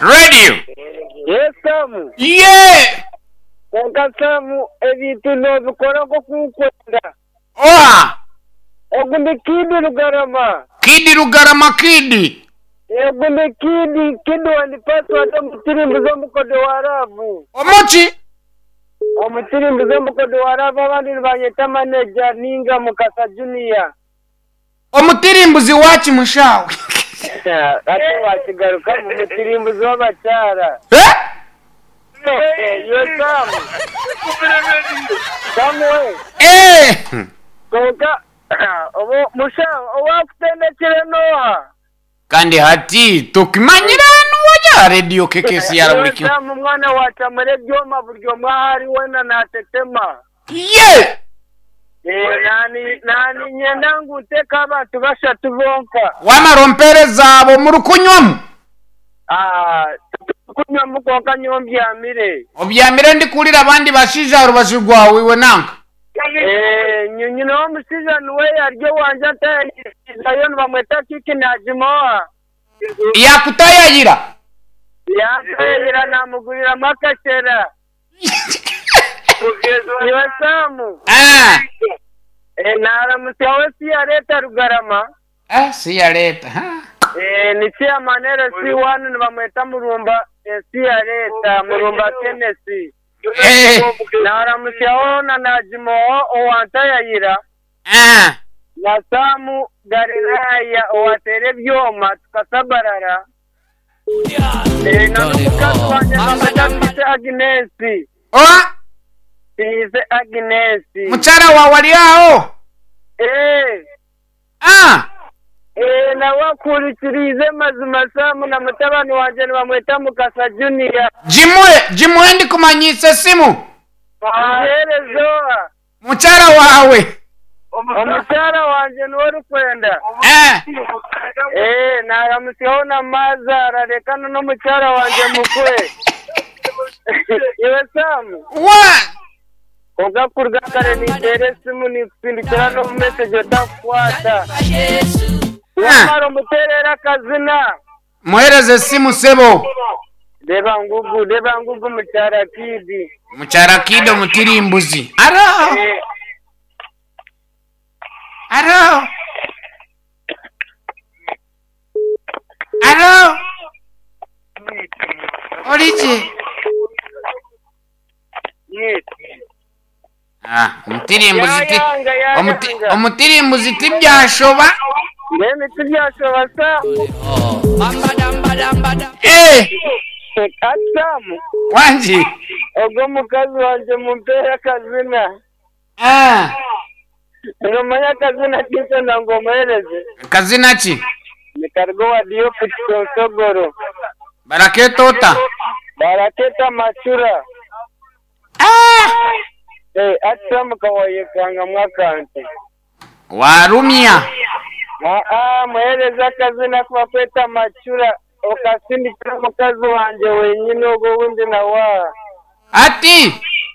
Radio. Yes Sam. Ye! Kwonka Sam ebintu nobikora nkoku nkwenda. Oha! Ogu ni Kid Rugarama. Kid Rugarama Kid. Ogu ni Kid, Kid one password omutirimbuzi omukodo wa love. Omuki? Omutirimbuzi omukodo wa love abandi nibanyeta manager ninga Mukasa Junior. Omutirimbuzi waki mushawe? Hati wakigarukamu omutirimbuzi w'abakyara. Eh? Iwe Sam. Sam we. Eh! Kwonka obu mushaho owakutendekire n'oha? Kandi hati tokimanyire hanu wajya aha rediyo KKCR buri Iwe kimwe. Sam mwana wacamura ebyoma buri omwe ahu ari weena natetema. Ye! Eh, nani nani nyenda ngu nteeke abantu bashatu bonka. Wamara ompeereze abo murikunywamu? Ah, titukunywamu kwonka nyowe mbyamire. Obyamire ndikuhurira abandi bashaija aha rubaju rwawe iwe nanka. Eh, nyine omushaija niwe ari owangye antayayirizayo nibamweta Kiki Najimoa. Yakutayayira? Yantayayira namuguriramu akashera. Iwe Sam. Ah. Eh, naramutsyaho Siyareta Rugarama. Ah, Siyareta. Ha. Eh, ni chairman LC1 nibamweta Murumba eh, Siyareta Murumba Kenneth. Eh. Naramutsyaho na Najimoho owantayayira. Ah. Na Sam Galilaya owateera ebyoma tukasabarara. Eh, na n'omukazi wangye nibamweta Twise Agnes. Oha? Twise Agnes. Mukyara waawe ari aho? Eh. Ah. Eh, nawe akuhurikiriize mazima Sam na mutabani wangye nibamweta Mukasa Junior. Gimuhe, gimuhe ndikumanyiisa esimu. Amuheereze oha? Mukyara waawe. Omukyara wangye niwe orikwenda. Eh. Eh, naramutsyaho na maazaara reka na n'omukyara wangye mukwe. Iwe Sam. Wa. Kwonka kuruga kare ninteera esimu ninkusindikira n'omu message otakukwata. Wamara omuteerere akazina. Muheereze esimu sebo. Reeba ngugu, reeba ngugu mukyara Kid. Mukyara Kid omutirimbuzi. Aro! Aro! Aro! Ori gye? Ah, omutirimbuzi ti Yayanga, yayanga. omuti- omutirimbuzi tibyashoba. Mbwenu tibyashoba Sam. Eh, Ati Sam, wangi. ogwo omukazi wangye mumpeere akazina. Ah, Nomanya akazina kinkwenda ngu omuheereze? kazina ki? Nikaruga owa Diop Kisonsogoro. Barakeeta ota? Barakeeta Macura. Ah! Eh, ati Sam kawayekangamu akantu. Waarumya. Aa, muheereze akazina aku bakweta Macura okasindikira omukazi wangye wenyine ogwo owundi nawe aha. Ati.